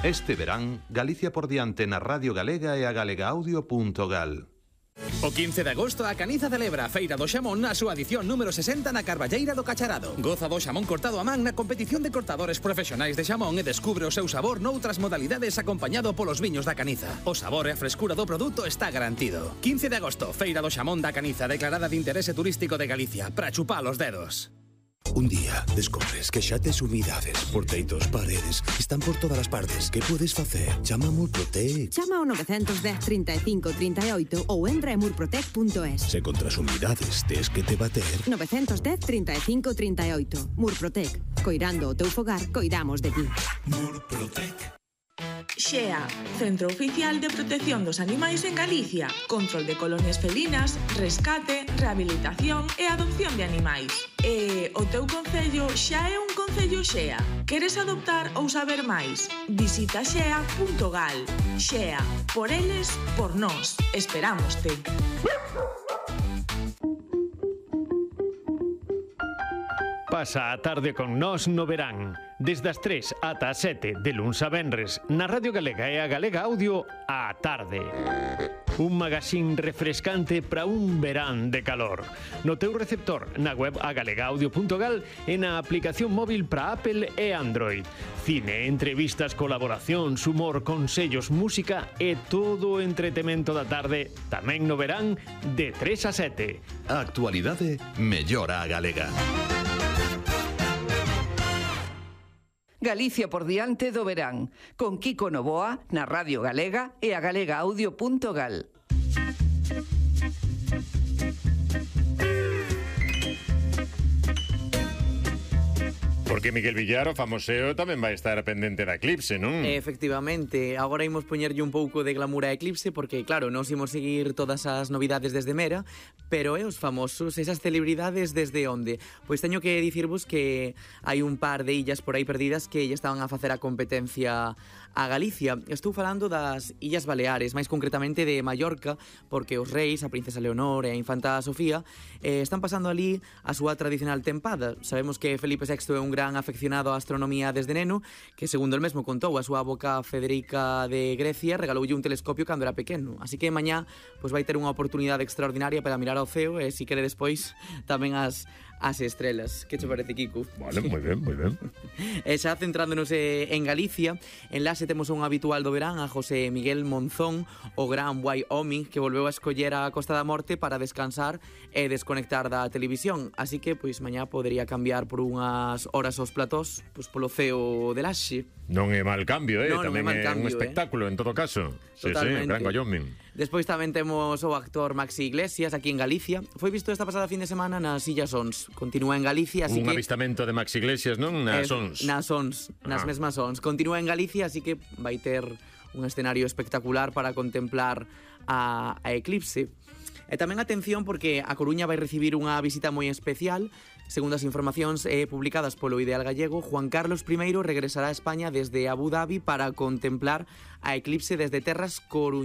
Este verán, Galicia por diante na Radio Galega e a galegaaudio.gal. O 15 de agosto a Caniza celebra a Feira do Xamón na súa edición número 60 na Carballeira do Cacharado. Goza do xamón cortado a man na competición de cortadores profesionais de xamón e descubre o seu sabor noutras modalidades acompañado polos viños da Caniza. O sabor e a frescura do produto está garantido. 15 de agosto, Feira do Xamón da Caniza, declarada de interese turístico de Galicia, para chupar os dedos. Un día descobres que xa tes humidades por teitos, paredes, están por todas as partes. Que podes facer? Chama a Murprotec. Chama ao 910 35 38 ou entra en murprotec.es. Se contra as humidades tes que te bater. 910 35 38. Murprotec. Coirando o teu fogar, coidamos de ti. Murprotec. XEA, Centro Oficial de Protección dos Animais en Galicia. Control de colonias felinas, rescate, rehabilitación e adopción de animais. E o teu concello xa é un concello XEA. Queres adoptar ou saber máis? Visita xea.gal. XEA, por eles, por nós. Esperámoste. Pasa a tarde con nós no verán. Desde as 3 ata as 7 de luns a venres na Radio Galega e a Galega Audio á tarde. Un magazín refrescante para un verán de calor. No teu receptor, na web agalegaaudio.gal e na aplicación móvil para Apple e Android. Cine, entrevistas, colaboracións, humor, consellos, música e todo o entretemento da tarde tamén no verán de 3 a 7. A actualidade mellora a galega. Galicia por diante do verán, con Kiko Novoa na Radio Galega e a galegaaudio.gal. Porque Miguel Villar, o famoseo, tamén vai estar pendente da Eclipse, non? Efectivamente, agora imos poñerlle un pouco de glamour a Eclipse porque, claro, nos imos seguir todas as novidades desde Mera, pero os famosos, esas celebridades desde onde? Pois teño que dicirvos que hai un par de illas por aí perdidas que lle estaban a facer a competencia a Galicia. Estou falando das Illas Baleares, máis concretamente de Mallorca, porque os reis, a princesa Leonor e a infanta Sofía están pasando ali a súa tradicional tempada. Sabemos que Felipe VI é un gran afeccionado á astronomía desde neno, que segundo el mesmo contou, a súa avoca Federica de Grecia regaloulle un telescopio cando era pequeno, así que mañá pois vai ter unha oportunidade extraordinaria para mirar ao ceo e, si quere despois, tamén as estrelas. Que che parece, Kiko? Vale, moi ben, moi ben. E xa centrándonos en Galicia, en Laxe temos un habitual do verán, a José Miguel Monzón, o gran Wyoming, que volveu a escoller a Costa da Morte para descansar e desconectar da televisión, así que pois mañá podería cambiar por unhas horas aos platós, pois polo ceo de Laxe. Non é mal cambio, tamén é un espectáculo, en todo caso. Totalmente. Sí, gran Wyoming. Despois tamén temos o actor Maxi Iglesias aquí en Galicia. Foi visto esta pasada fin de semana nas Illas Ons. Continúa en Galicia, así un que... avistamento de Maxi Iglesias, non? Nas Ons. Nas Ons, nas mesmas Ons. Continúa en Galicia, así que vai ter un escenario espectacular para contemplar a eclipse. E tamén atención porque a Coruña vai recibir unha visita moi especial. Segundo as informacións publicadas polo Ideal Gallego, Juan Carlos I regresará a España desde Abu Dhabi para contemplar a eclipse desde terras coruñesas.